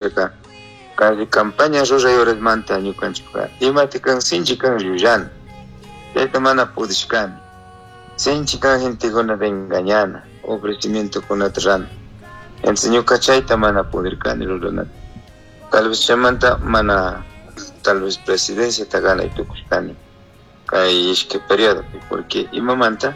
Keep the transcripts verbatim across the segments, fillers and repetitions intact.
Kay campaña ruray horasmanta ñukanchikka imata kan sinchi kan llullana, chayta mana pudishkani, sinchi kan gentekunata engañana, ofrecimientokunata rana. Entonces ñuka chayta mana pudirkani ruranata. Tal vez chaymanta mana tal vez presidenciata ganay tukushkani kay ishkay periodopi, porque imamanta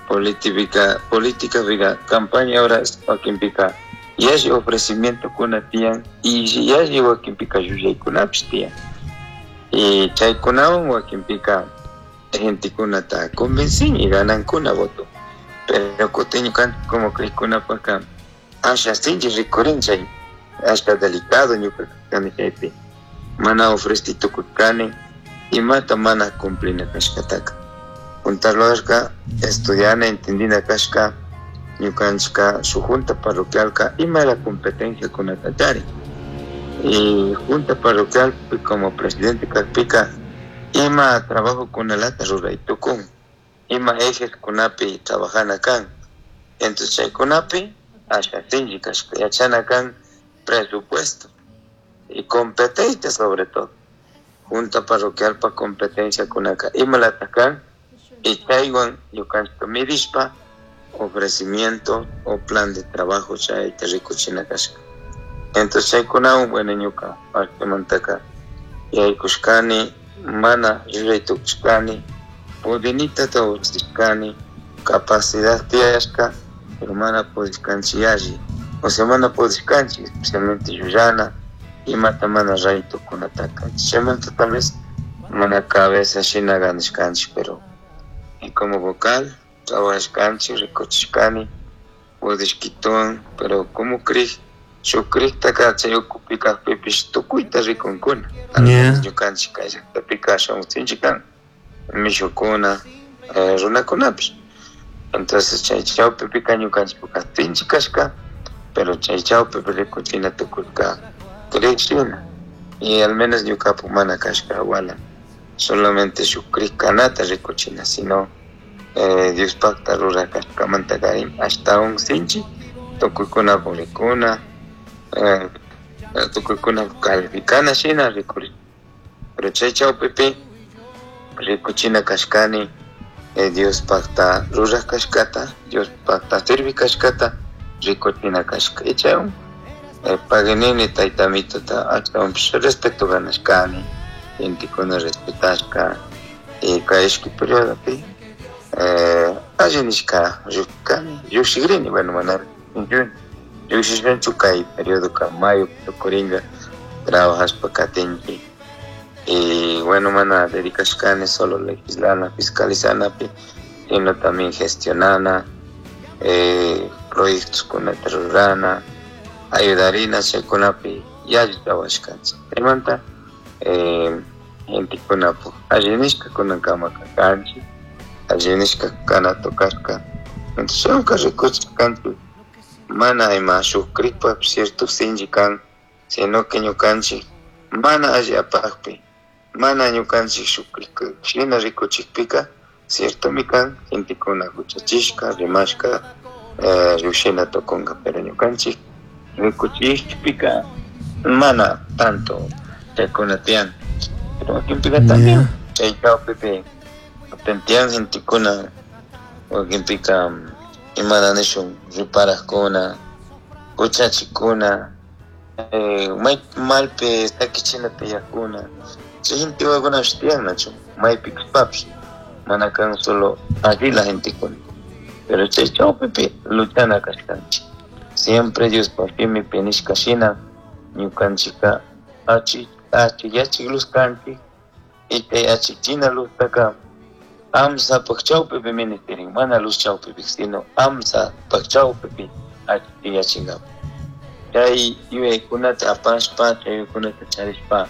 política política campaña horas wakinpika yalli ofrecimientokuna tiyan y yalli wakinpika llullaykunapish tiyan. Y chaykunawan wakinpika gentekunata convencen y ganankuna voto. Pero kutin ñukanchik como krikkunapaka asha sinchi rikurin chay asha delicado ñuka kani chaypi mana ofreci tukurkani imata mana cumplina kashkataka. Juntarloshka estudiana entendina kashka ñukanchika shuk junta parroquialka ima la competencia kunata charin. Y junta parroquial como presidente kakpika ima trabajo kunalata ruray tukun, ima ejes kunapi trabajana kan. Entonces chaykunapi asha sinchi kashka yachana kan presupuesto y competencia sobre todo. Junta parroquial pa competencia kunaka imalata kan y chaywan ñukanchika midishpa ofrecimiento o plan de trabajo chayta rikuchina kashka. Entonces chaykunawan bueno ñuka partemantaka yaykushkani mana ruray tukushkani pudinitata ofrecishkani capacidad tiyashka pero mana pudishkanchik yalli, o sea mana pudishkanchik especialmente llullana imata mana ray tukunataka. Chaymanta tal vez mana cabeza shina ganashkanchik, pero y como vocal trabajashkanchik rikuchishkani pudishkituwan, pero como krik shuk kriktaka chay ukupi kakpipish tukuyta rikunkuna. Yeah. Ñukanchik kay llaqtapika ashawan sinchi kan mishukuna eh, runakunapish. Entonces chay chawpipika ñukanchikpaka sinchi kashka, pero chay chawpipi rikuchina tukurka krik shina y al menos ñukapak mana kashka wala solamente shuk krik kanata rikuchina, sino eh, Diospakta rurak kashkamanta karin ashtawan sinchi tukuykunapak rikuna eh, tukuykunapak calificana shina rikuri. Pero chay chawpipi rikuchina kashkani eh, Diospakta rurak kashkata, Diospakta sirvi kashkata rikuchina kashka. Y chaywan eh, paganini tayta mitota ashtawanpish respeto ganashkani, gentekuna respetashka y kay ishki periodopi eh, alli nishka llushkani llushikrini, bueno mana llushishkanchu kay periodoka mayo tukurinka trabajashpa katinchik. Y bueno mana dedicashkani solo legislana, fiscalizanapi, sino también gestionana, eh, proyectos kunata rurana, ayudarina chaykunapi yalli trabajashkanchik. Chaymanta eh, gentekunapak alli nishka kunankama kanchik, alli nishka kana tocashka. Entonces chaywanka rikuchishkanchik mana ima shuk krikpak cierto sinchi kan, sino que ñukanchik mana alli apakpi, mana ñukanchik shuk krik shina rikuchikpika ciertomi kan gentekuna huchachishka, rimashka eh, llushina tukunka, pero ñukanchik rikuchikpika mana tanto chaykuna tiyan. Pero wakinpika también Yeah. chay chawpipi tiyan gentekuna wakinpika imana nishun riparakuna, huchachikuna, eh, may malpi sakichina tiyakuna, chay gente wakunapish tiyan nachu maypi kashpapish mana kan solo allí la gentekuna, pero chay chawpipi luchana kashkanchik. Siempre Diospaq shimipi nishka shina ñukanchika achi achiyachik luz kanchik y chay achichina luztaka amsapak chawpipi ministerin, mana luz chawpipi sino amsapak chawpipi achiyachinkapak. Chay yuyaykunata apashpa, chay yuyaykunata charishpa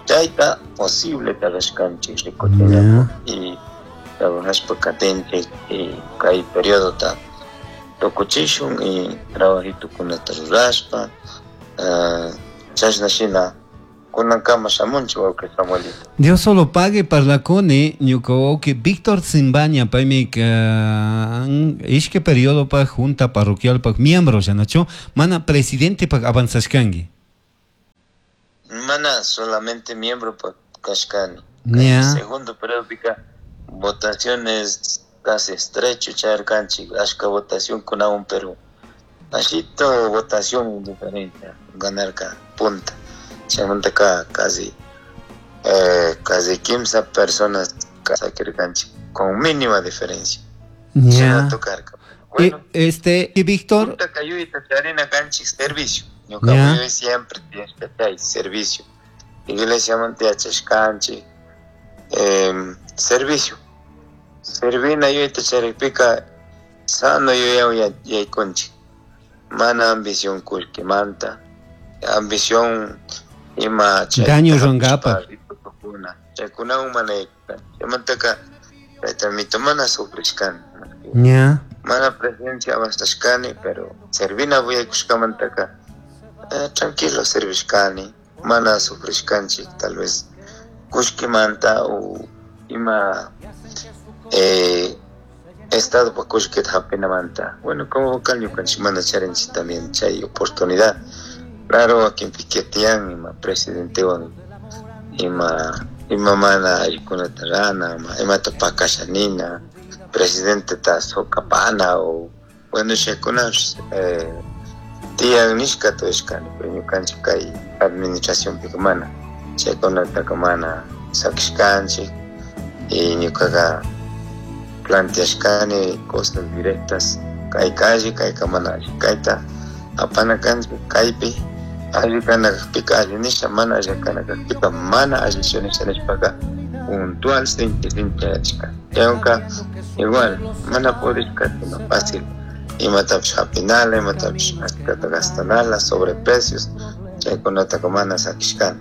chayta posible rurashkanchik rikuchinkapak y trabajashpa katinchik y kay periodota tukuchishun y trabajitukunata rurashpa uh, chashna shina kunankama shamunchik wawqi Samuelito. Dios solo pague parlacone ñuka wawqi Víctor Simbaña paymi kan ishkay periodopak junta parroquialpak miembro yanachu mana presidente pak avanzashkanki. Mana solamente miembro kashkani. Yeah. Segundo periodo votaciones casi estrecho charkanchik, ashka votación kunawan, pero ashito votación diferente, ganarka punta. Chaymantaka casi eh, casi quince personas sakirkanchik con mínima diferencia. Yeah. Tocarka. Bueno, eh, este, y Víctor, kanchik servicio. Ñuka siempre tiene servicio. Iglesia mantiyachashkanchik, eh, servicio. Servina yuyayta charikpika sano yuyawan yaykunchik. Mana ambición kullkimanta, ambición ima daño rurankapak. Chaykunawan mana yaykunchik. Chaymantaka chayta mana sufrishkani. Yeah. Mana presencia avanzashkani, pero servina yaykushkamantaka eh, tranquilo servishkani. Mana sufrishkanchik tal vez kullkimanta o ima eh, estado pa kullkita hapinamanta. Bueno, como vocal ñukanchik mana charinchik también chay oportunidad. Claro, wakinpi tiyan ima presidentewan ima ima mana allikunata rana, imata pakasha nina, presidenteta sokapana o bueno chaykunapish eh, tiyan nishkata uyashkani, pero ñukanchik kay administracionpika mana chaykunataka mana sakishkanchik y ñukaqa planteashkani cosas directas, kayka alli, kayka mana alli, kayta apana kanchik kaypi alli kana kakpika alli nisha, mana alli kana kakpika mana allichu nisha nishpaka puntual sinchi sinchi yachashka. Chaywanka igual mana pudishkata no fácil imatapish hapinala, imatapish ashkata gastanala, sobreprecios, chaykunataka mana sakishkani.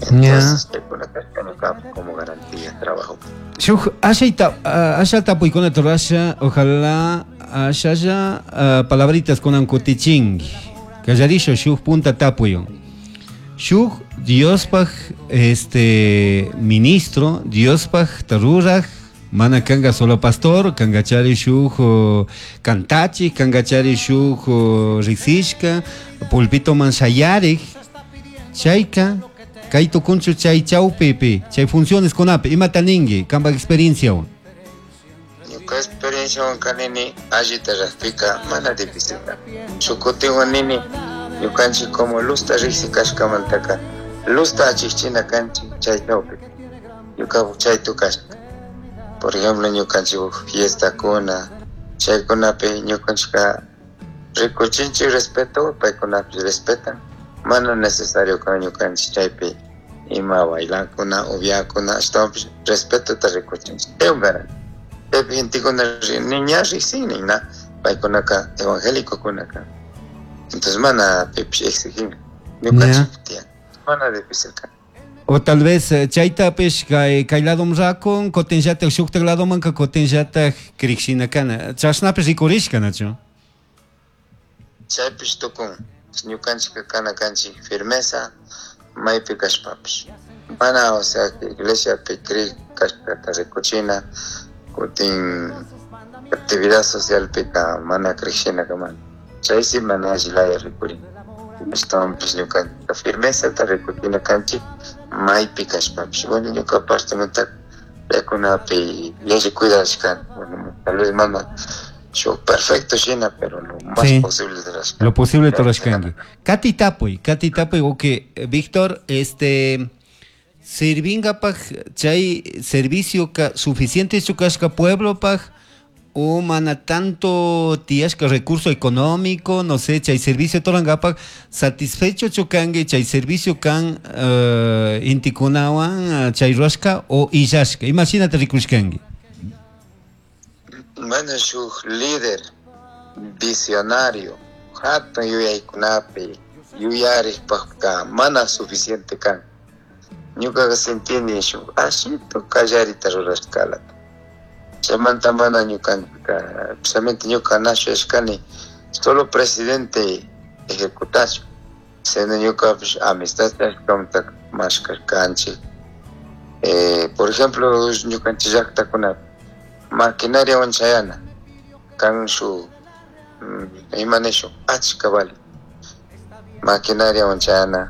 Entonces chaykunata ñuka como garantía trabajo. Shuk ashayta asha tapuykunata rurasha, ojalá ashalla uh, palabritas kunan kutichinki. Kallarisha shuk punta tapuyon. Shuk Diospaj este ministro, Diospaj taruraj, mana kanga solo pastor, kangachari shuk kantachi, kangachari shuk riksishka, pulpito man shayarik, chayka, kay tukunchu chay chawpipi, chay funciones kunapi, imata ninki, kampak experienciawan. Ñuka experienciawan kanini allita rajpika mana difícil. Shuk kutinwan nini ñukanchik como luzta riksi kashkamantaka luzta achikchina kanchik chay chawpipi. Ñuka chay tukashka. Por ejemplo, ñukanchik fiestakuna, chaykunapi ñukanchikka rikuchinchik respeto, paykunapish respetan. Mana necesario kan ñukanchik chaypi ima bailakuna, upiakuna, ashtawanpish respetota rikuchinchik. Chaywan garantía. Chaypi gentekuna ña riksinin, na paykunaka evangélicokunaka. Entonces mana pipish exigin. Ñukanchik tiyan. Mana difícil kan. O tal vez chaytapish kay kay ladom rakun, kutinllatak shuktak ladomanka kutinllatak krikshina kana. Chashnapish rikurishka, nachu? Chaypish tukun. Ñukanchik kana kanchik firmeza maypi kashpapish. Mana, o sea, iglesiapi krik kashkata rikuchina, kutin actividad socialpika mana krikshina mana. Chaysi mana alli laya rikurin. Ashtawanpish ñukanchik firmezata rikuchina kanchik maypi kashpapish. Bueno, ñuka partemanta chaykunapi yalli cuidashkani. Bueno, tal vez mana shuk perfecto shina, pero lo más Sí. posible rurashkani. Lo posible rurashkanki. Kati tapuy, kati tapuy, ok, Víctor, este sirvinkapaj chay servicio ka suficiente kashka pueblopaj o mana tanto tiyashka recurso económico, no sé, chay servicio turankapaj satisfecho chukanki chay servicio kan uh, intikunawan chay rurashka o illashka, imashinata rikushkanki. Bueno, shuk líder visionario, hatun yuyaykunapi yuyarishpajka mana suficiente kan. Ñukaqa sentini shuk ashito kallarita rurashkalata. Chaymanta mana ñukanchika, precisamente ñuka na shuyashkani solo presidente ejecutachun, sino ñukapish amistad charishkamanta mashkashkanchik. Eh, por ejemplo, ñukanchik llaktakunapi maquinariawan chayana kan shuk ima nishun achka vale maquinariawan chayana.